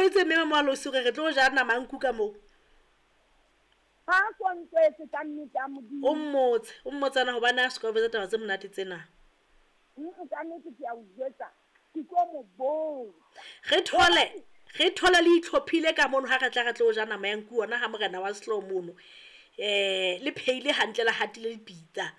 jwetse mme Mamoalosi gore re tlo ja nama ya nku ka moo? Ha a so ntswetse ka nnete ya Modimo. O mmotse, o mmotsana hobane a soka o jwetsa taba tse monate tsena. Ka nnete ke a o jwetsa, ke tlo mo botsa. Re thole, re thole le itlhophile ka mono ha re tla re tlo ja nama ya nku hona ha morena wa sehlooho mono. Le pheile hantle le hatile dipitsa.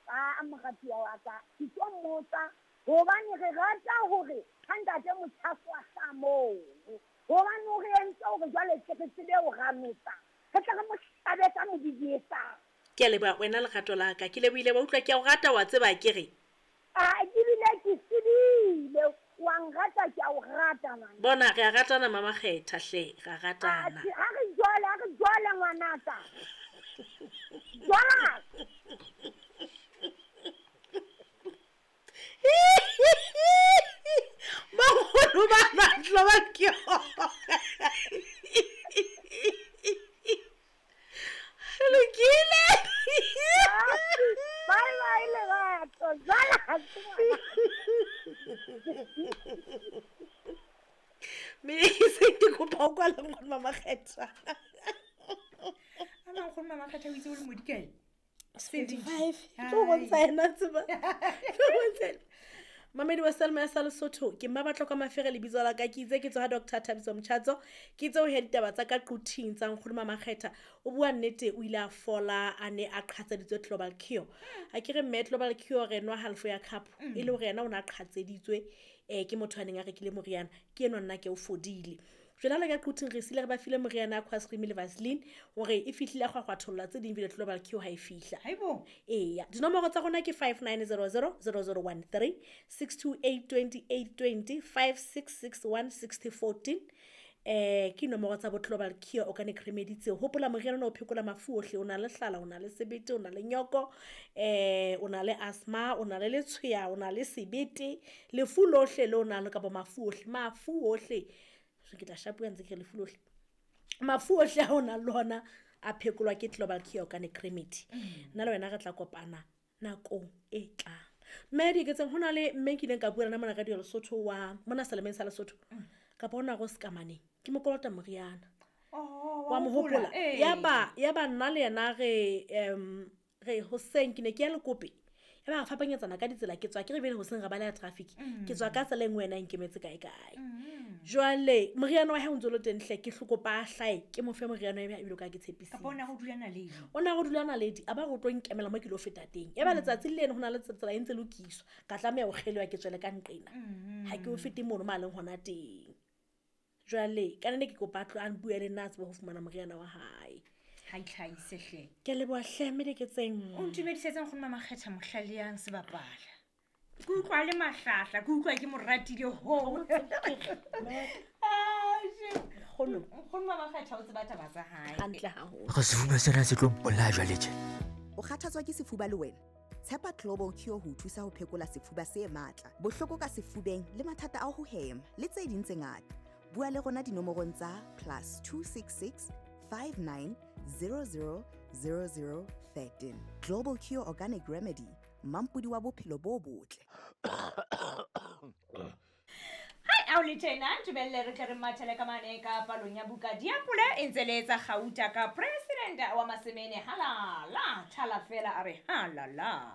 Aa moratuwa wa ka, ke tlo mmotsa hobane re rata hore ha ntate Mochaso a hlaha mono. Hobane o re entse hore jwale tle re tsebe ho ramotsa, re tle re mo hlabe ka modidietsane. Ke a leboha wena lerato la ka. Ke lebohile wa utlwa, ke a o rata wa tseba akere. Aa ke bile ke tsebile wa nrata ke a o rata ngwana. Bona re a ratana Mama Kgetha hle, ra ratana. Atjhe ha re jwale, ha re jwale ngwanaka. Jwala. Bagolo ba matlo ba ke lokile. Bye bye lerato. Jwala. Mme ke se ke kopa o kwala nkgono Mama Kgetha. A nkgono Mama Kgetha o itse o le modikae? 75 tlo bontsha yena tseba tlo bontsha yena. Mamedi wa Selma ya sa Lesotho ke mma batlo ka mafere lebitso la ka ke itse ke tswa ha Dr Thabiso Mchatso ke itse ho ya ditaba tsa ka quthing tsa nkgono Mama Kgetha o bua nnete o ile a fola a ne a qhatseditswe Global Cure a ke re mme Global Cure re nwa halfo ya cup e le hore yena o ne a qhatseditswe ke motho a neng a rekile moriana ke enwa nna ke o fodile. Jwale ha le ka quthing re sile re ba file moriana ya Quasrim le Vaseline hore e fihlile ya kgwakgwatholla tse ding vile Global Cure ha e fihla. Haibo. Eya, dinomoro tsa rona ke 5900 0013 628 2820 5661 6014. Ke nomoro tsa bo Global Cure Organic Remedy tseo. Hopola moriana ona o phekola mafu ohle, o na le hlala, o na le sebete, o na le nyoko, o na le asthma, o na le letshweya, o na le sebete, lefu lohle le o nang le kapa mafu ohle, mafu ohle. So ke tla shapuwa ntse ke re lefu lohle. Mafu ohle a o nang le ona a phekolwa ke Global Cure Organic Remedy. Nna le wena re tla kopana nakong e tlang. Mme Dieketseng ho na le mme nkileng ka bua le mona radio Lesotho wa mona Selemeng sa Lesotho. Kapa hona go Sekamaneng. Ke mo kolota moriana. Oh, Wa mo hopola? Ee. Ya ba nna le yena re re hoseng ke ne ke ya Lekope. Ya ba re fapanyetsana ka ditsela ke tswa ke re bele hoseng re baleha traffic. Ke tswa ka tsela e nngwe yena e nkemetse kae kae. Jwale moriana wa hae o ntse o le teng hle ke hlokopa a hlae ke mo fe moriana wa hae ebile ka ke tshepisitse. Kapa o na go dula naledi. O na go dula naledi a ba go tlo nkemela mo ke lo feta teng. Ya ba letsatsi le leng ho na le tsela e ntse lokiswa. Ka tlameha ho kgelewa ke tswele ka nqena. Ha ke o fete mono ma leng hona teng. Jwale ka nne ke kopa a tlo a bue le nna a tsebe ho fumana moriana wa hae. Ha itlhahise hle. Ke a leboha hle mme Dieketseng. O ntumedisetse nkgono Mama Kgetha mohlale yang sebapala. Ke utlwa le mahlahla, ke utlwa ke mo ratile ho. Nkgono. Nkgono Mama Kgetha o tseba taba tsa hae. Hantle haholo. Re sefuba sena se tlo mpolaya jwale tje. O kgathatswa ke sefuba le wena? Tshepa Global Cure ho o thusa ho phekola sefuba se matla, bohloko ka sefubeng le mathata a ho hema le tse ding tse ngata. Bua le rona dinomorong tsa +266 59 00 00 13. Global Cure Organic Remedy, mampodi wa bophelo bo botle. Hai ao le tjena ntumelle re tle re mathele ka mane ka palong ya buka diapole e ntse le etsa kgauta ka president wa Masemene halala thala fela a re halala.